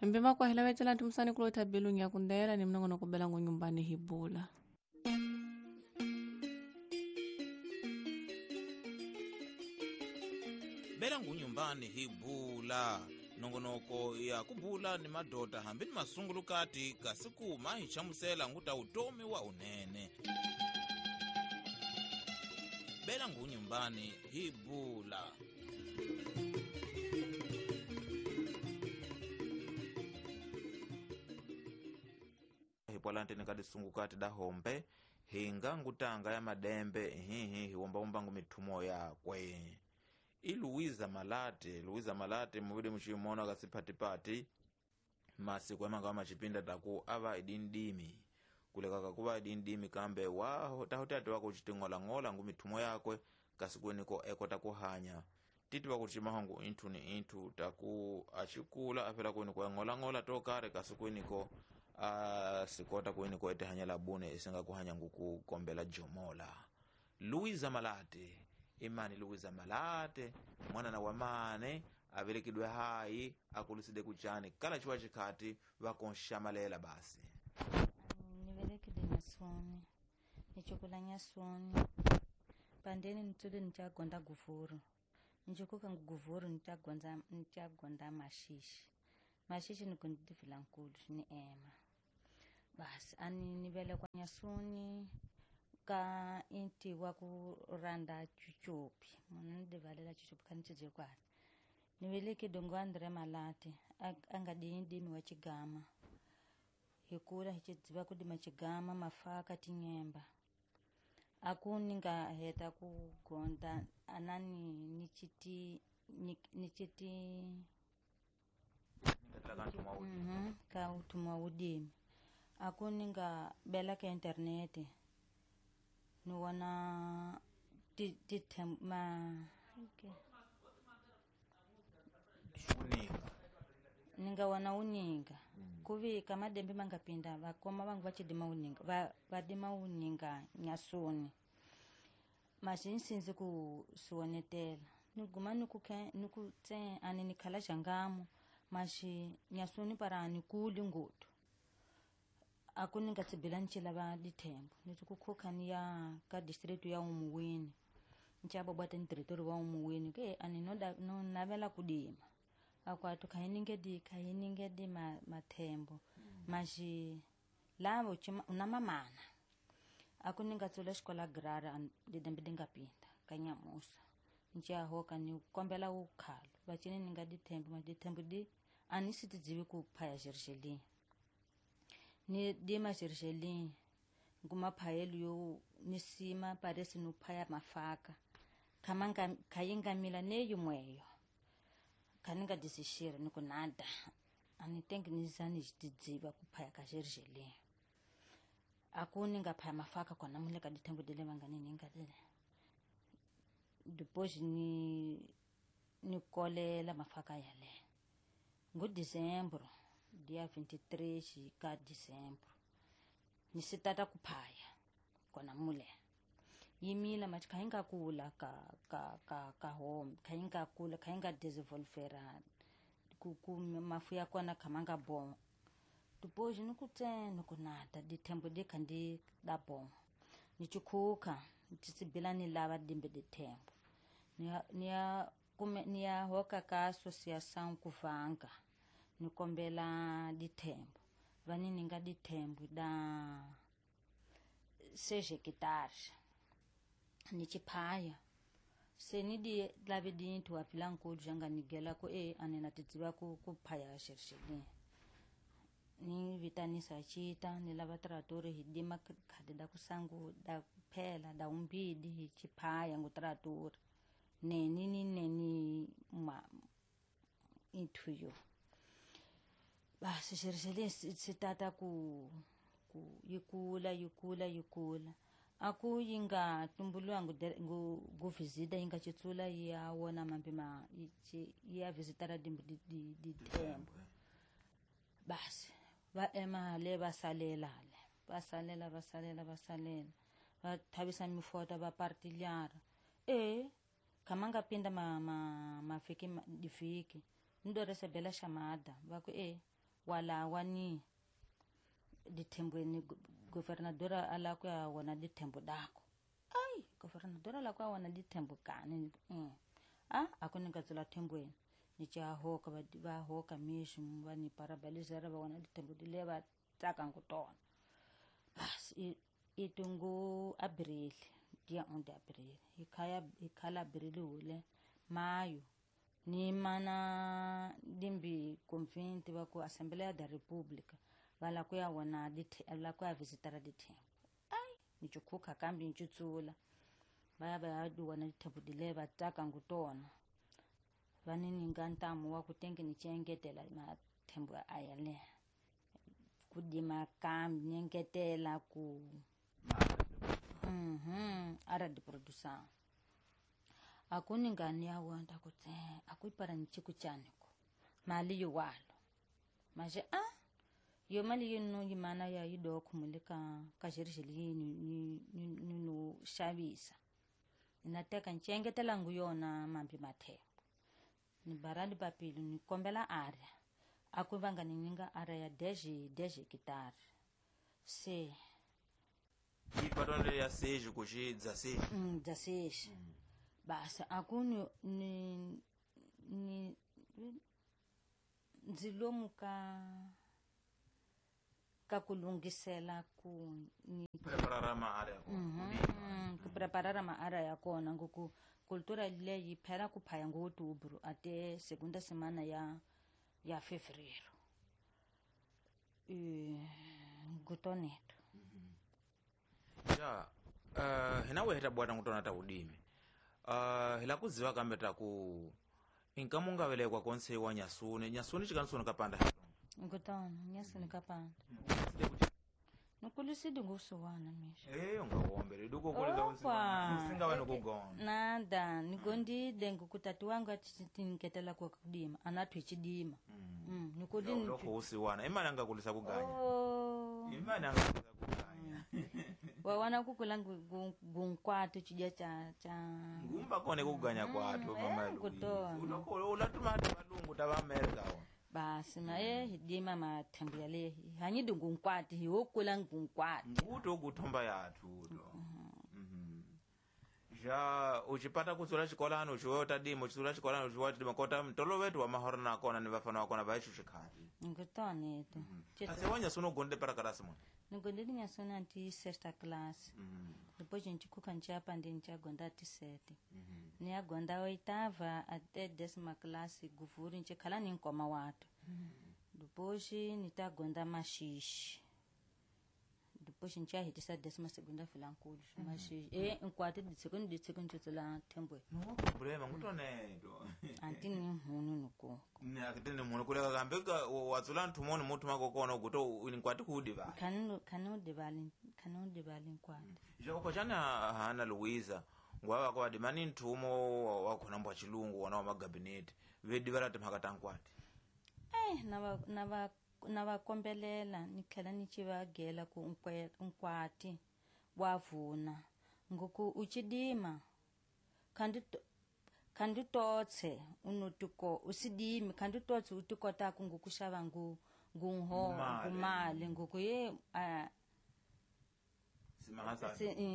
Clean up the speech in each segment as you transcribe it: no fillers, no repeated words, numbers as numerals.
Mbema kwa hela wetela ntumusani kulota belungi ya kundela ni mnongo kubela nyumbani hibula. Bela ngunyumbani hibula nongonoko ya kubula ni madota hambi ni masungulukati kasi kuma hi chamusela nguta utomi wa unene. Bela ngunyumbani hibula. Hipwalante nikadisungukati da hombe hinga ngutanga ya madembe hihi hiwomba ngu mithumo yakwe. Iluiza Malate, Luiza Malate muvidi muchimona kasipatipati masiku amanga machipinda taku ava idindimi kulekaka kuva idindimi kambe waho tahotati wako chitingola-ngola ngu mithumo yakwe kasikueniko ekota kuhanya titi wakuchimahongu inthu ni inthu taku achikula afela kueniko eng'ola-ng'ola tokare kasikueniko asikota kueniko etihanya labune isinga kuhanya nguku kombela jomola. Luiza Malate imani Luiza Malate mwana na wamane avelekidwe hai akuluside kuchani kala chiwa chikhati vakonshambalela basi. Nivelekide nyasoni nichukula nyasoni pandeni nitsule nichagonda guvuru nichukuka nguguvuru nichagonda mashishi mashishi nikundivila nkulu ni ema basi ani nivelekwa nyasoni ka inti wa ku randa chuchupi munhu ni divalela chuchupi kha ni cije kwale ni veleke dongo Andre Malate a nga dimi wa chigama hi kula hi chidziva ku dima chigama mafaka tinyemba a ku ni nga heta ku gonda anani ni chiti ni chiti ka utumwa udimi a ku ni nga bela ka internete ni wana ti ma okay. Ninga wana uninga kuvi kama dembe mangapinda vakoma vangu vachidima uninga vadima uninga nyasoni mashinsinzi ku siwonetela niguma nikuke nikutse ani nikhala xangamo mashi nyasoni para anikuli ngutu aku ninga tsibila ncila va dithembo nitsi kukhuka ni ya ka district ya Umuwini nchaba bwata ni territory wa Umuwini ke ani no navela kudima akwatu khayininge di mathembo mashi lavo una mamana aku ninga tsula xikola grara didembe dingapinda kanyamusa ncha hoka ni kombela ukhalo vacini ninga dithembo ma dithembo di ani sitidzivi ku phaya xerixelini ni dima xerixelini nguma phayelo yo ni sima paresi no phaya mafaka khamanga khayingamila neyimweyo khaninga disixira ni ku nada ani tengi ni zani tidziva ku phaya ka xerixelini aku ni nga phaya mafaka kona mule ka dithembo dile vangani ni nga dile depois ni kolela mafaka yale ngu Dezembro dia 23 ka Dezembro ni sitata kuphaya kona mule yimila mathi khainga kula ka home khainga kula khainga desenvolvera ku mafu ya kona khamanga bon depois ni kutse ni kunata dithembo di khandi da bon ni chikhuka tisibila ni lava dimbe dithembo ni ya hoka ka associação kuvanga ni kombela dithembo vani ninga dithembo da 6 hectares ni chiphaya se ni di lave dinthu wa phila nkulu janga nigela ku ane na tidziva ku phaya xerixelini ni vitanisa chita ni lava tratori hi dima khadi da kusangu da kuphela da umbidi hi chiphaya ngu tratori neni ni neni ma inthu yo basi xerixelini sitata ku yikula aku yinga tumbulwa ngu visita yinga chitsula ya wona mambe ma ya visitara di tembo basi va ema le va salela va thavisa mifota va partilyara khamanga pinda ma fiki difiki ndo recebela chamada va ku Walawa ni dithembweni governadora ala ku ya wona dithembo dako. Ai, governadora ala ku ya wona dithembo kani. A aku ni nga tsula thembweni. Ni cha hoka va hoka mixo va ni parabelizera va wona dithembo dile va tsaka ngutona. Bas itungu abril, dia 1 de abril. Ikhaya ikhala abril ule maio. Ni mana dimbi convinte va ku Assembleia da República va la ku ya wona la ku ya visitara dithembo. Ai, ni chukhuka kambi ni chutsula. Va ya va ya wona dithembo dile va tsaka ngutona. Va ni ninga ntamu wa ku tenge ni chengetela mathembo aya le. Ku dima kambi ni engetela ku ara de produção. Akuni ngani ya wanda kutse akuipara nchiku chaniko mali yuwalo maje a yo mali yino yimana ya yidoko mulika kajirishili ni ni no xavisa ninateka nchengetela nguyona mambi mathembo ni barali papilo ni kombela area akuvanga ni ninga area ya 10 hectare se ipatonde ya sejo kuchi 16 16 Basa akuni ni ndzilomu ka kulungisela ku ni preparara maarea kona. Ku preparara maarea ya kona ngoku kultura leyi phela ku phaya ngo outubro ate segunda semana ya fevereiro. Ngutoneto. Ja, hina weheta bwana ngutona ta udimi. Hila kuziva kambe taku inkamunga velekwa konse wa nyasuni nyasuni chikansuni kapanda ngutona nyasuni kapanda nukulisidi ngusuwana misha ungawombele duko kuliza usinga wena kugona nada nigondide ngukutati wangu atinketela kwa kudima anathu ichidima nikudi lokho usiwana imali angakulisa kuganya imali angakulisa kuganya wawana kukula gunkwatu chidya cha ngumba kone kuganya kwathu mama Luis ulatuma hata valungu ta Amerika wa basi naye hidima mathembu yale hanyidi ngunkwati hiwokula ngunkwati nguto kuthomba yathu to ja uchipata kutsula xikolani uchiwe utadima uchitsula xikolani uchiwe utadima kota mtolo wetu wa mahoro nakona ni vafana wakona vaicho xikhati ngutoneto ase wanyasuni ugonde para karasi mwana nigondele nyasuni anti sexta classe depois nchikhuka nchapa ndi nchagonda ati sete niagonda oitava até décima classe guvuri nchikhala ni nkoma watu depois nitagonda maxixi depois nchahitisa décima segunda filankulu maxixi nkwati ditseko ni ditseko nchutsula thembwe no problema ngutoneto anti ni nhunu nukoko akitene munu kuleka kambe watsula nthumoni muthu makokona uguto nkwati kuudivala khani udivali nkwati joko chana hana Luiza ngwava kwa dimani nthumo wakhona mbwa chilungu wona wa magabinete vedivala timhaka ta nkwati na va kombelela ni tlhela ni ci va gela ku nkwati wa vuna ngoku uchidima khandi totse unotiko usidimi khandi totse utikotaka ngokuxava ngunho ngumali ngoku ye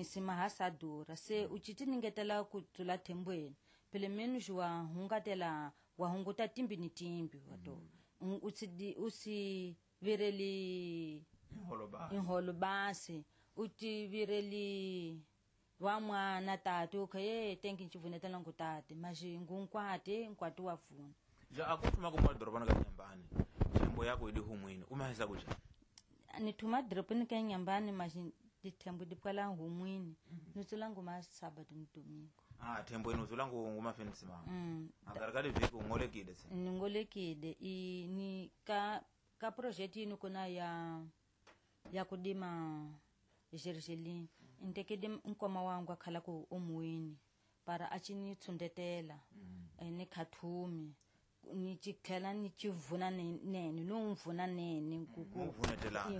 simahasadura se uchiti ningetela ku tsula thembweni pele menos wa hungatela wa hunguta timbi ni timbi wato usi vireli inholo basi uti vireli wa mwana tati ukhaye tenki nchivunetela ngutate maji ngunkwati nkwati wa vuna ja akuthuma kumwa dorobana ka nyambani thembo yako idi humwini umahisa kuja nithuma dorobani ka nyambani maji dithembo dipwala humwini nitsula nguma sábado ni domingo thembo inu utsula nguma fin simama akarikali vhiki ungolekile se ningolekile ni ka project yinu kuna ya kudima gergelin ntekede nkoma wangu akhala ku omuwini para a ci ni tshundetela ni khathumi ni ci tlhela ni ci vuna nene no mvuna nene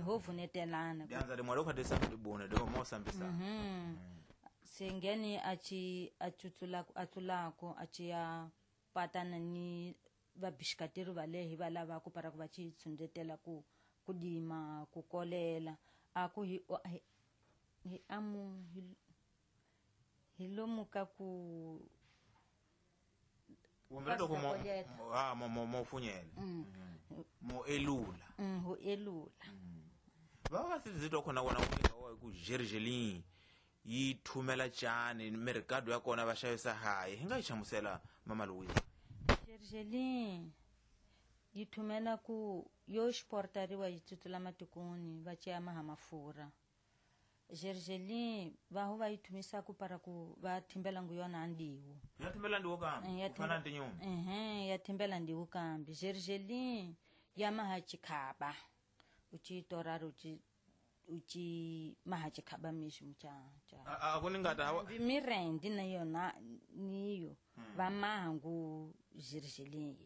ho vunetelana dianza limwe lokha desambibune do mo sambisa sengeni a ci a tsutsula a tsulako a ci ya patana ni Vabixikateri va le hi va lavaku para ku va ci tshundzetela ku dima ku kolela a ku hi hi amu hi lomu ka ku wombelela mo mo funyela mo elula ho elula va va sizito khona kona ku ku gergelin yi thumela tjani mercado ya kona va xavisa hayi hi nga yi hlamusela mama Louise. Gergelin yi thumela ku yo exportariwa yi tsutsula matikoni va ceya maha mafurha. Gergelin va ho va yi thumisa ku para ku va thimbela ngu yona ndiwu. Ya thimbela ndiwu kambe. Ku fana na tinyungu. Ya thimbela ndiwu kambe. Gergelin ya maha chikhaba. Uchi torara uchi maha chikhaba mixi mucha cha. A ku ni nga ta hawa. Mirendi na yona niyo va maha ngu gergelin.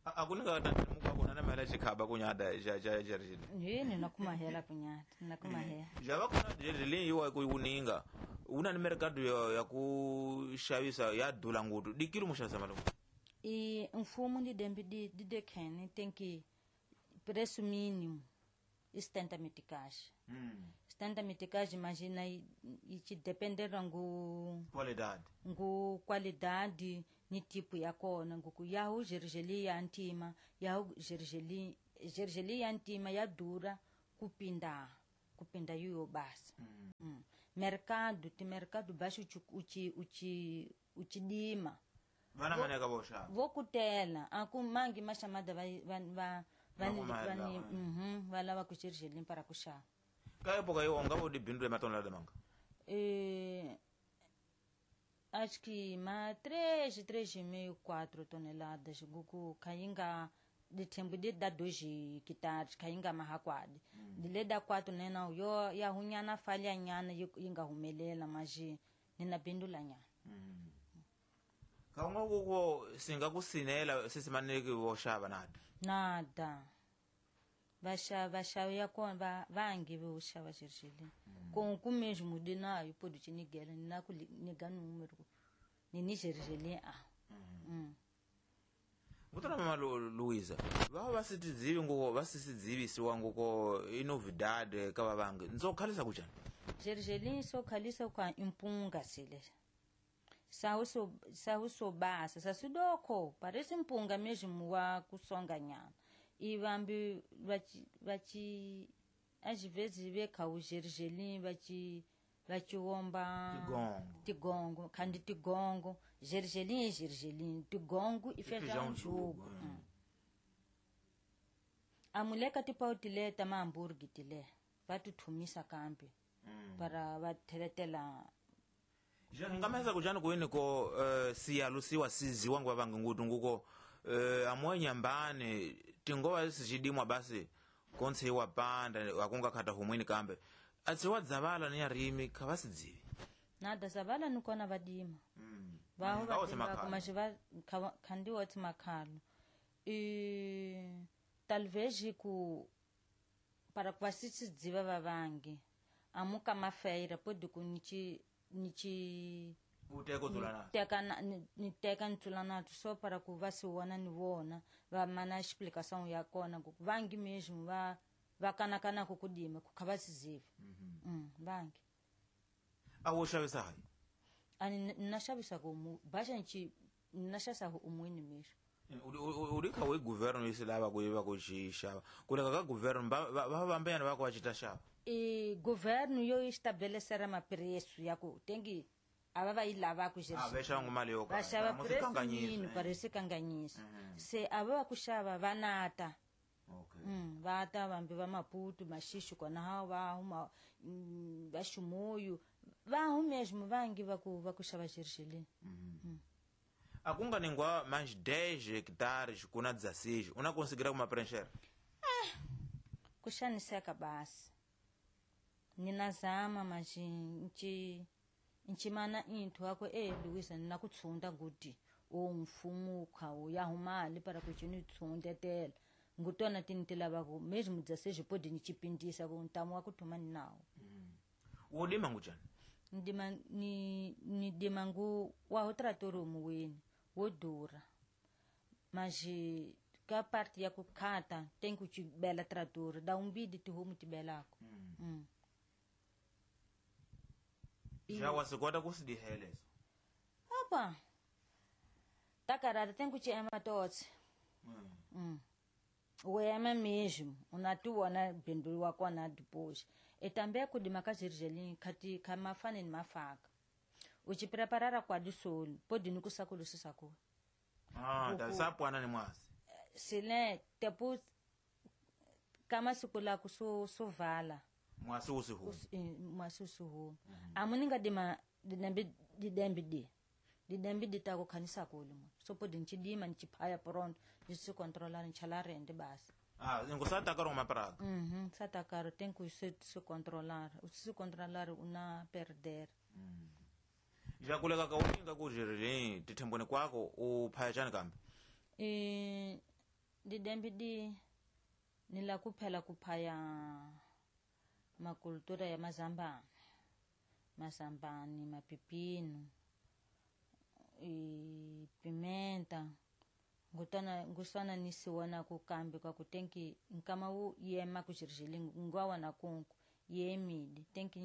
A ku ni nga ta muka kona na mela chikhaba kunyada ja ja gergelin. Yini na kumahela kunyada na kumahela. Ja va kona gergelin yiwa ku wuninga. Una ni mercado ya ku xavisa ya dula ngutu. Dikilo mu xavisa malume. I mfumo ndi dembi di dekhene tenki preço mínimo e 70 meticais. 70 meticais, imagina, e te depender ngu qualidade. Ngu qualidade ni tipo ya kona ngu ku ya hu gergeli ya antima, ya hu gergeli gergeli ya antima ya dura kupinda yuyo basa. Mercado ti mercado baixo uchi uchi uchi dima. Vana maneka voxa. Vokutela, aku mangi mashamada va va va va lava ku gergelin para ku xava. Ka época yo nga vo dibindu ematonelada manga? Acho que ma 3, 3,5, 4 toneladas guku kayinga ditembo de da 2 hectares kayinga mahakwadi. Dile da 4 nena yo ya hunyana falha nyana yinga humelela maji nina bindula nyana. Ka unga kuko singa kusinela sisimaneki voxava nada. Nada. Vaxa ya kona vangi vo xava gergelin. Com o mesmo denário pode te negar na ku negar número. Ni gergelin a. Ngutana mama Luiza, va va sitizivi ngoko va sisidzivisiwa ngoko inovidade ka va vangi. Ndzo khalisa kuchani? Gergelin so khalisa kwa impunga sile. Sahu so basa, sasudoko, parece impunga mesmo wa kusonga nyana. E vambi vachi às vezes vê cá o gergelim vachi omba tigongo kandi tigongo gergelim é gergelim tigongo e feijão jugo. A mulher que te pau tile tama hambúrguer tile vai tu thumisa kambi para va theletela. Ja ngameza kujana kuini ko siyalusiwa siziwa ngwa vangi ngutu nguko amwe nyambani tingowa sichidimwa basi konse iwa panda akunga khata humwini kambe atsiwa dzavala ni arimi khavasidzivi nada zavala nikona vadima vaho vadima kumashiva khandiwa tsimakhalo talvez ku para kwasisidziva vavangi amuka mafeira podi ku nichi nichi uteko dzulana teka ni teka ntsula só para ku va se vona ni vona va mana explicação ya kona ku vangi mesmo va va kanakana ku kudima ku kha va siziva. Vangi a wo xavisa hayi ani na xavisa ku mu baxa nchi na xavisa ku umwini mesmo uri kha we governo isilava ku yiva ku xixava kuleka ka governo va vambeyana va ku va cita xava e governo yo estabelecer ma preço ya ku tengi ava va yi lava ku xava va xava mali yo ka va xava preço mínimo parece kanganyisa se ava va ku xava va nata. Va ta vambi va Maputo maxixi kona ha va huma va Ximoyo va hu mesmo vangi va ku xava gergelin. A ku nga ningwa mais 10 hectares kuna 16 una conseguir kuma preencher ku xaniseka basi ninazama mas nchi nchimana inthu ako Luiza nina ku tshunda nguti o mfumo khawo ya humali para ku chini tshundetela ngutona tinitela vako mesmo 16 pode nichipindisa ku ntamu wa kuthuma ninawo. Wo lima ngujani? Ndima ni ndima ngu wa ho trator muweni wo dura. Mas ka parte ya kukhata tem que bela trator dá um bide te rumo te belako. Já wasikwata kusidihelezo. Opa. Takarada tem que te ama todos. Wema mesmo, unatuona bindulu wakona depois. E também kudima kazirjelim kati kamafane ni mafaka. Uchipreparara kwa disolo, pode nukusakulu sisako. Ah, da sapwana ni mwasi. Sile tepu kama sikula kuso sovala. Mwasi usihu. Mwasi usihu. Amuninga dima didembi di. Didembi ditako kanisa kulimo. So pode nchidima nchiphaya pronto, ndisi controlar nchalarende basi. Ah, ngusata karo mapraga. Sata karo tem que se controlar. Se controlar una perder. Já kuleka kauninga kujirili tithembweni kwako uphaya chani kambe? Didembi di nila kuphela kuphaya makultura ya mazambani. Mazambani, mapipino, pimenta. Ngutana ngusana nisiwana kukambi kwa kutenki nkama wu yema kujirijili ngwawa na kunku yemidi tenki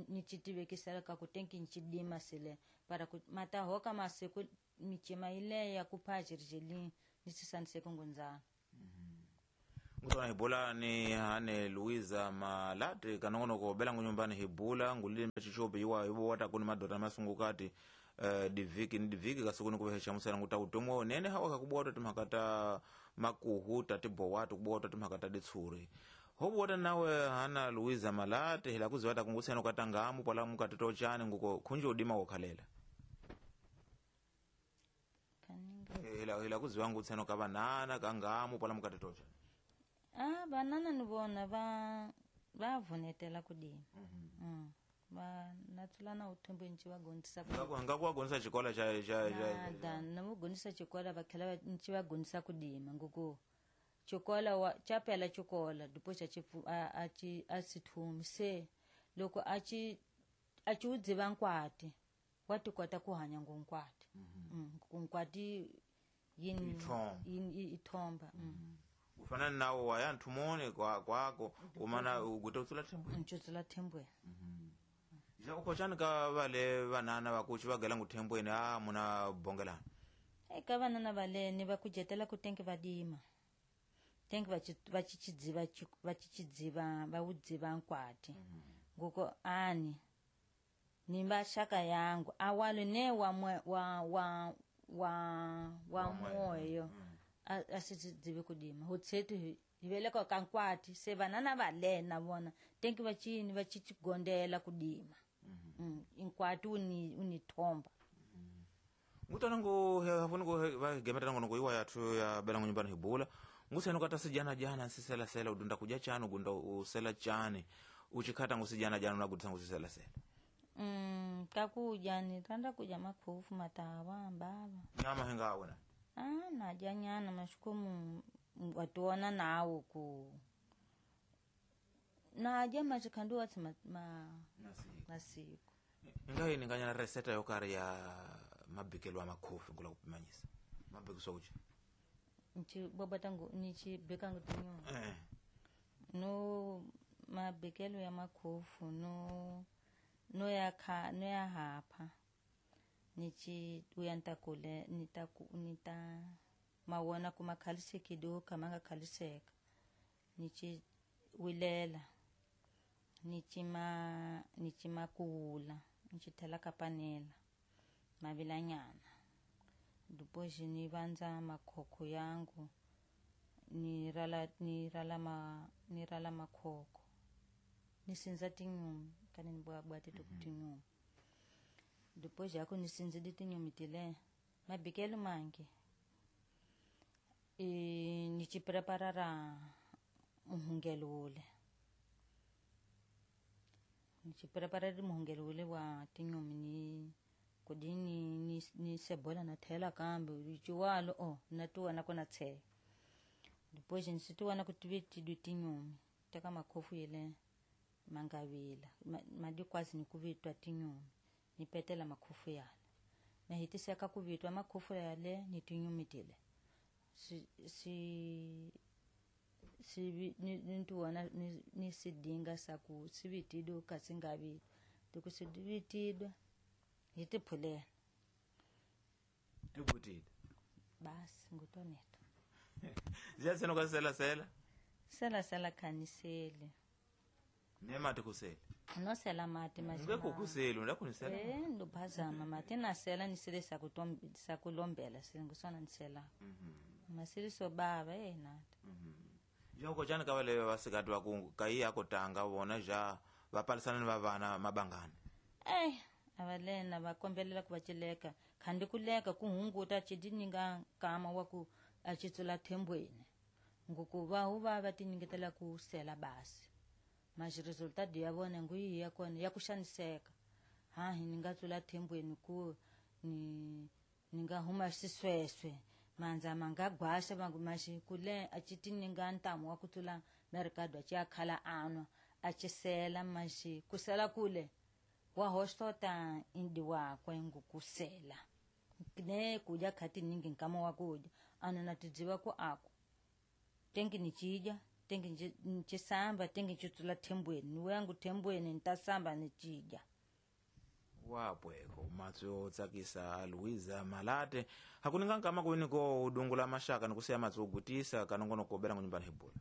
nichitivekisela kakutenki nchidima sile para matahoka masiku michima ile ya kupha jirijili nisisanise kungunzana. Ngutana hibula ni hane Luiza Malate kanongono ko bela ngunyumbani hibula ngulile chichope iwa ibo wata kuni madota masungukati. Diviki ni diviki kasukuni kuvehecha musana nguta utomwe nene hawa kakubwata timakata makuhu tatibo watu kubwata timakata ditsuri hobwata nawe hana Luiza Malate hila kuziwata kungusena katangamu pala mukatito chani nguko khunje udima wokhalela kaninga hila kuziwa ngusena kabanana kangamu pala mukatito chani. Ah, banana nibona ba bavunetela kudima. Ba natsulana uthembo nchi vagondzisa ngakuwagondzisa xikola xa xa nada na vagondzisa xikola va tlhela nchi vagondzisa kudima ngoko xikola wa xa phela xikola depois a ci a sithumi se loko a ci wu dziva nkwati wa ti kota ku hanya ngonkwati. Nkwati yini i thomba. Ufana nawo waya nthumoni kwako umana uguta utsula thembweni ntsula thembweni. Ja ukochani ka vale vanana vakuchi vagela nguthembweni a muna bongelana. Eka vanana valene va kujetela ku tenke vadima. Tenke vachichidziva vachichidziva va udziva nkwati. Ngoko ani ni mashaka yangu awalo ne wa wa wa wa wa moyo asidzive kudima. Hotsetu hiveleka ka nkwati se vanana valena vona tenke vachini vachichigondela kudima. Inkwati unithomba. Ngutana ngo hafuni ngo vagemetana ngo iwa yathu ya bela nyumbani hibula. Ngusena kata sijana jana sisela sela udunda kuja chani ugunda usela chani uchikhata ngusijana jana unagudisa ngusisela sela. Kakuja ni randa kuja makhofu matawa mbava. Nyama hingawe na. Ah, naja nyana mashukumu watuona nawo ku. Naja machikhandu watsi masiku. Ngai ninganya reseta yokari ya mabikelo a makhofi ngula kupimanyisa. Mabikiso uchi. Nchi baba nichi beka ngutinyo. No mabikelo ya makhofu no no ya kha no ya hapha. Nichi uyantakule nita mawona kumakhalisekido kamanga khaliseka. Nichi wilela. Nichima kuula nichithela kapanela mavilanyana depois ni vandza makhokho yangu ni rala makhokho ni sindza tinyumi kani ni bwabwa tito tinyumi depois yako ni sindzile tinyumi tile mabikelo mangi ni chipreparara muhungelo wule. Nichipreparari muhungelo wule wa tinyumi ni kudini ni sebola na thela kambe chiwalo o natuwana kona tse depois nisituwana kutiveti tinyumi teka makhofu yele mangavila madikwazi ni kuvitwa tinyumi ni petela makhofu yale na hitiseka kuvitwa makhofu yale ni tinyumi tile si si nituona ni sidinga saku sivitido kasingavi tukusidivitidwa hitiphulela tibutile basi ngutoneto ziyaseno kasela sela sela sela khanisele nemati kusele nosela mati ngeke kusele ndakunisela ndophazama mati nasela nisele sakulombela singusona nisela masiliso baba nata joko jani kavale vasikati vaku kai akotanga vona ja vapalisana ni vavana mabangani avalena vakombelela ku va cileka khandi kuleka kuhunguta cidininga nkama wa ku acitsula thembweni nguku vahu va va tinyiketela ku sela basi mas resultado ya vona nguyi ya kona ya ku xaniseka hahi ni nga tsula thembweni ku ni nga huma xisweswe manza manga gwaxa maxi kule a ci tininga ntamu wa ku tsula merikado a ci ya khala anwa a ci sela maxi ku sela kule wa hoxota indi wakwe ngukusela ne kudya khati ningi nkama wa kudya ana na tidziva ku aku tengi ni cidya tengi ni cisamba tengi ni citsula thembweni ni wangu thembweni ni ta samba ni cidya wapweko matso yo tsakisa Luiza Malate hakuninga nkama kuini ko udungula mashaka nikusiya matso ogutisa kanongono kobela ngunyumbani hibula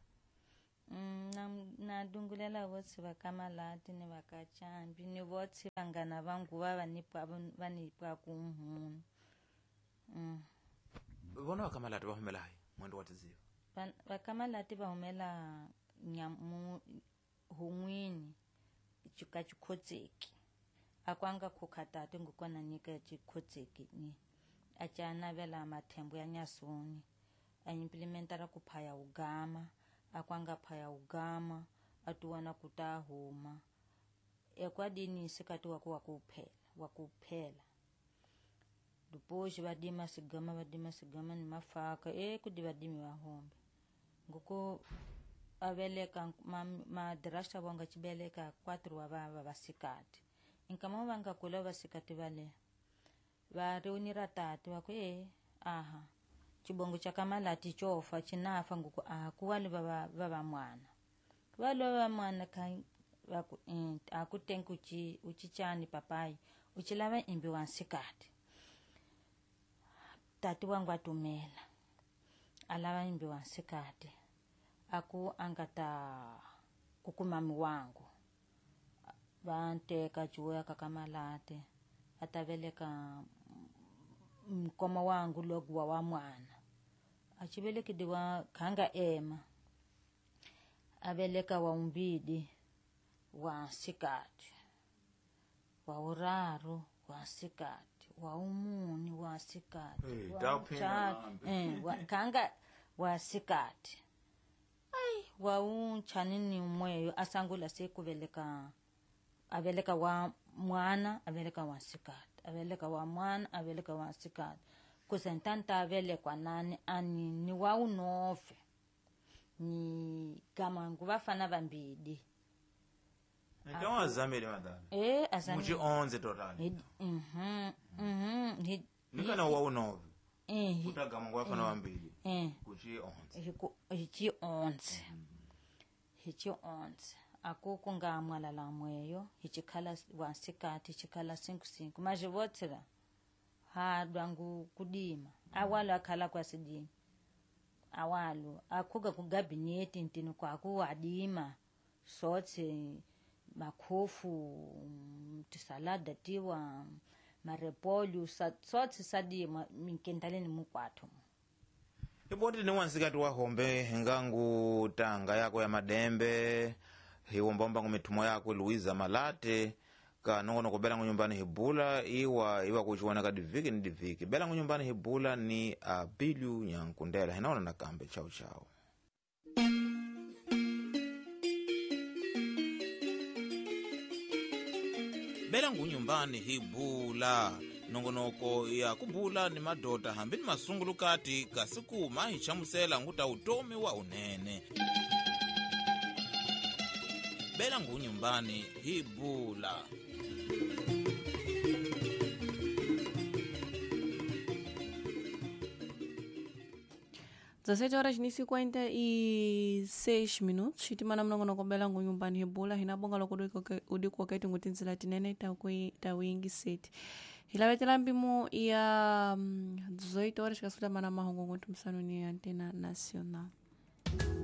na dungulela votsi va ka Malate ni va ka Chambi ni votsi vanghana va nguva va nipwa ku mhunu vona va ka Malate va humela hayi mwendo wa tiziva va ka Malate va humela hun'wini ka Chikhotseki akwanga khukhatati ngukona nyika Chikhotseki ni a ca navela mathembo ya nyasoni a implementara ku phaya ugama akwanga phaya ugama atuwana kuta huma ekwadini sikati waku wakuphela dupoxi vadima sigama ni mafaka kudi vadimi vahombe nguku aveleka madraxa vonga cibeleka 4 wa vava vasikati nkama vanga kula vasikati vale va reunira tati vaku aha chibongo cha Kamalati chofa chinafa nguku aha kuwali vava mwana vali vava mwana vaku akutenga uchichani papai uchilava imbi wa nsikati tati wangu atumela alava imbi wa nsikati aku angata kukumami wangu vanteka chuya kakamalate ataveleka mkoma wangu loguwa wa mwana achivelekidiwa khanga ema aveleka wa umbidi wa nsikati wa uraru wa nsikati wa umuni wa nsikati khanga wa nsikati ai wa unchanini umweyo asangula sekuveleka aveleka wa mwana aveleka wa nsikati aveleka wa mwana aveleka wa nsikati kusentanta avelekwa nani ani ni wa unofe ni kama nguvafana vambidi então azamele madala azamele muchi 11 total nikana wa unove kutagama nguvafana vambidi kuchi 11 hichi 11 hichi 11 akuku nga mwalala mweyo hichikhala wansikati hichikhala 5 majivotsela hadwangu kudima awalo akhala kwasidima awalo akhuka kugabineti ntini kwaku wadima sotse makhofu tisalada tiwa marepolyo sotse sadima minkendaleni mukwatho iboti ni wansikati wa hombe ngangu tanga yako ya madembe hiwombomba ngumithumo yako Luiza Malate kanongono kubela ngunyumbani hibula iwa kuchiwana ka diviki ni diviki bela ngunyumbani hibula ni Abiliu Nyankundela hinaona nakambe chau chau. Bela ngunyumbani hibula nongonoko ya kubula ni madota hambi ni masungulukati kasikuma hichamusela nguta utomi wa unene. Bela ngunyumbani hibula. 17 horas ni 56 minutos xitimana mnongono belango nyumbani hibula hinabonga loko udikuoketi ngutinzila tinene tawingiseti hilavetela mpimo ya 18 horas xikasutamana mahungu ngoti msanu ni antena nacional.